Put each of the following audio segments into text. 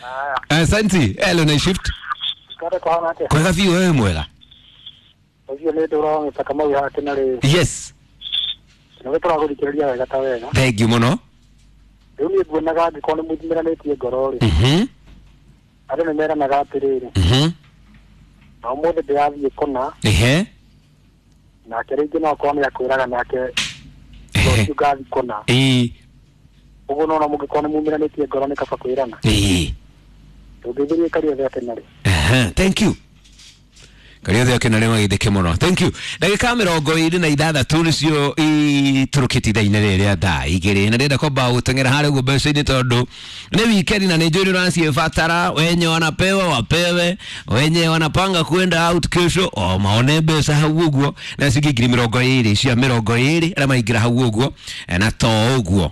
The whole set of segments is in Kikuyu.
Haya. Asante. Hello na shift. Kare kwa hana atia. Kwega biũ wewe mwega. Ũcio nĩ ndũra mĩtaka mau hake na rĩ. Yes. Nĩ tũragũthikĩrĩria wega ta wega. Thank you mũno. Rĩu niĩ nguonaga angĩkorwo nĩ mũthimĩranĩtie ngoro rĩ. Andũ nĩ meranaga atĩrĩrĩ. Na ũmũthĩ ndĩrathiĩ kũna. Ehe. Nake rĩngĩ no akorwo nĩ akwĩraga nake Ehe. rũciũ ngathiĩ kũna. Ĩĩ. Ũguo nona mũngĩkorwo nĩ mumĩranĩtie ngoro nĩ kaba kwĩrana. Ĩĩ. Tũngĩthĩrie Kariothe atĩ rĩ. Aha, thank you. Kariothe akena rĩ magithĩke mũno. Thank you. Ndagĩka 26 nĩcio itũrũkĩte ithaa-inĩ rĩrĩ rĩa thaa 2 na ndĩrenda kwamba gũteng'era harĩa ũguo mbeca-inĩ tondũ nĩ weekend na nĩ njũĩ nĩ ũraciĩbatara. Wenye wanapewa wapewe, wenye wanapanga kwenda out kesho o maone mbeca hau ũguo, na ciingĩ ngiri 20 cia 20 arĩa maingĩra hau ũguo, na to ũguo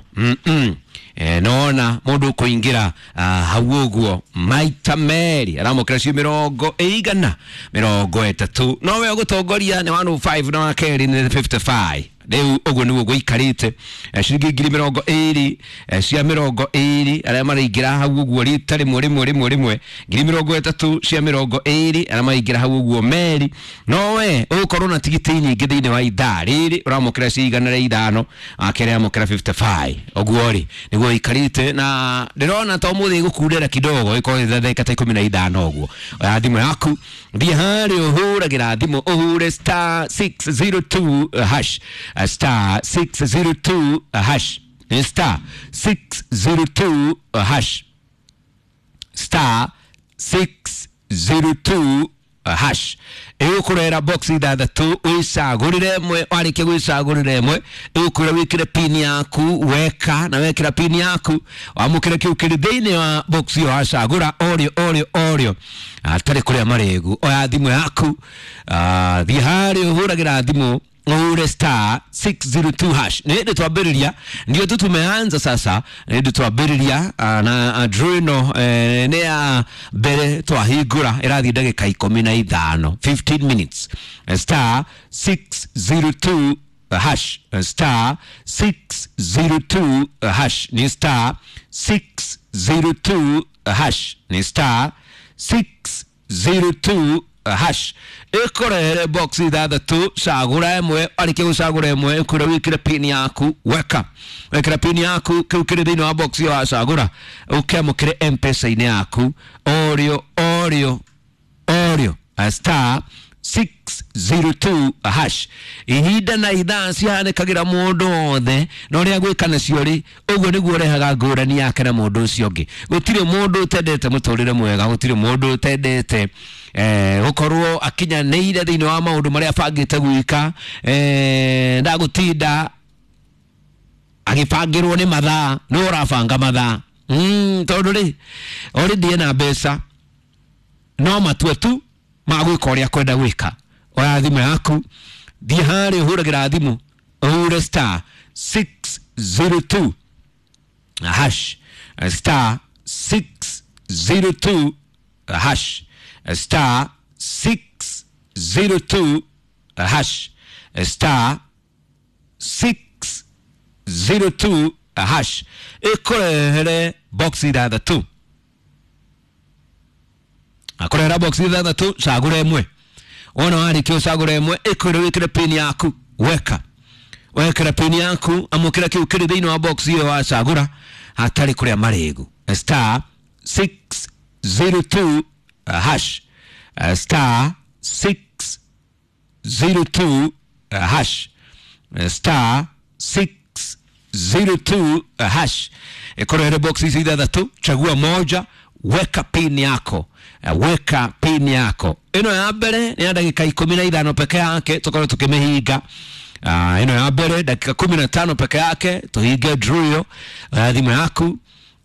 nona mundu kuingira hau uguo maita meri aramukira cio 130 nowe ugutongoria ni 105 na wakeri ni 55 riu uguo niguo guikarite. Ciringi ngiri 20 cia 20 aria maraingira hau uguo rita rimwe rimwe rimwe rimwe ngiri 30 cia 20 aria maraingira hau uguo meri nowe ugukorwo na tigiti nyingĩ thĩinĩ wa ithaa rĩrĩ ũramũkĩra cia 105 akere amũkĩra 55 ũguo rĩ nĩguo ikarĩte na ndĩrona ta ũmũthĩ ĩgũkundera kidogo ĩkorwo ndagĩka ta 15 ũguo. Oya thimũ yaku thiĩ harĩa ũhũragĩra thimũ ũhure star 602 hash, star 602 hash, star 602 hash, star 602 hash ĩgũkũrehera box ithathatũ wĩcagũrĩre ĩmwe warĩkia gwĩcagũrĩra ĩmwe ĩgũkwĩra wĩkĩre pin yaku weka na wekĩra pin yaku wamũkĩre kĩu kĩrĩ thĩinĩ wa box ĩyo wacagũra orĩo orĩo orĩo atarĩ kũrĩa marĩgu. Oya thimũ yaku, thiĩ harĩa ũhũragĩra thimũ ũhure star 602 hash. Nĩ hĩndĩ twambĩrĩria, ndio tu tumeanza sasa, nĩ hĩndĩ twambĩrĩria na draw ĩno nĩ ya mbere twahingũra ĩrathiĩ ndagĩka 15 15 minutes. Star 602 hash, star 602 hash, ni star 602 hash, ni star 602 hash ĩkũrehere box ithathatũ cagũra ĩmwe warĩkia gũcagũra ĩmwe ĩkwĩra wĩkĩre pin yaku weka wekĩra pin yaku kĩu kĩrĩ thĩinĩ wa box ĩyo wacagũra ũkĩamũkĩre M-Pesa-inĩ yaku orĩo orĩo orĩo star 602 hash. Ihinda na ithaa cihanĩkagĩra mũndũ wothe na ũrĩa gwĩka nacio rĩ ũguo nĩguo ũrehaga ngũrani yake na mũndũ ũcio ũngĩ. Gũtirĩ mũndũ ũtendete mũtũrĩre mwega, gũtirĩ mũndũ ũtendete gũkorwo akinyanĩire thĩinĩ wa maũndũ marĩa abangĩte gwĩka, ndagũtinda agĩbangĩrwo nĩ mathaa nĩ ũrabanga mathaa tondũ rĩ already ena mbeca no matue tu ma gwĩka ũrĩa kwenda gwĩka. Oya thimũ yaku thiĩ harĩa ũhũragĩra thimũ ũhure star 602 hash, star 602 hash, star 602 hash, star 602 hash ĩkũrehere box ithathatũ akũrehera box ithathatũ cagũra ĩmwe wona warĩkia ũcagũra ĩmwe ĩkwĩra wĩkĩre pin yaku weka wekĩra pin yaku amũkĩra kĩu kĩrĩ thĩinĩ wa box ĩyo wacagũra hatarĩ kũrĩa marĩgu. Star 602 hash, star 602 hash, star 602 hash ĩkũrehere box ici ithathatũ chagua moja weka pin yako, weka pin yako. Ĩno ya mbere nĩ ya ndagĩka 15 peke yake tũkorwo tũkĩmĩhinga. Ĩno ya mbere dakika 15 peke yake tũhinge draw ĩyo. Thimũ yaku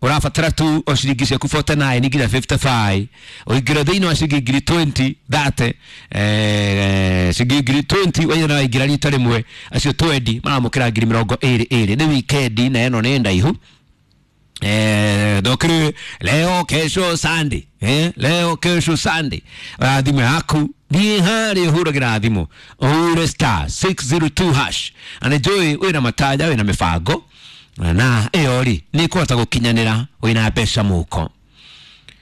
ũrabatara tu o ciringi ciaku 49 nginya 55 ũingĩre thĩinĩ wa ciringi ngiri 20 30 ciringi ngiri 20 waigana waingĩra rita rĩmwe acio 20 maramũkĩra ngiri 22 nĩ weekend na ĩno nĩ ndaihu. Ndokiri leo kesho Sunday, leo kesho Sunday. Thimũ yaku thiĩ harĩa ũhũragĩra thimũ ũhure star 602 hash na nĩ njũĩ wĩna matanya wĩna mĩbango na ĩyo rĩ nĩ ĩkũhota gũkinyanĩra wĩna mbeca mũhuko.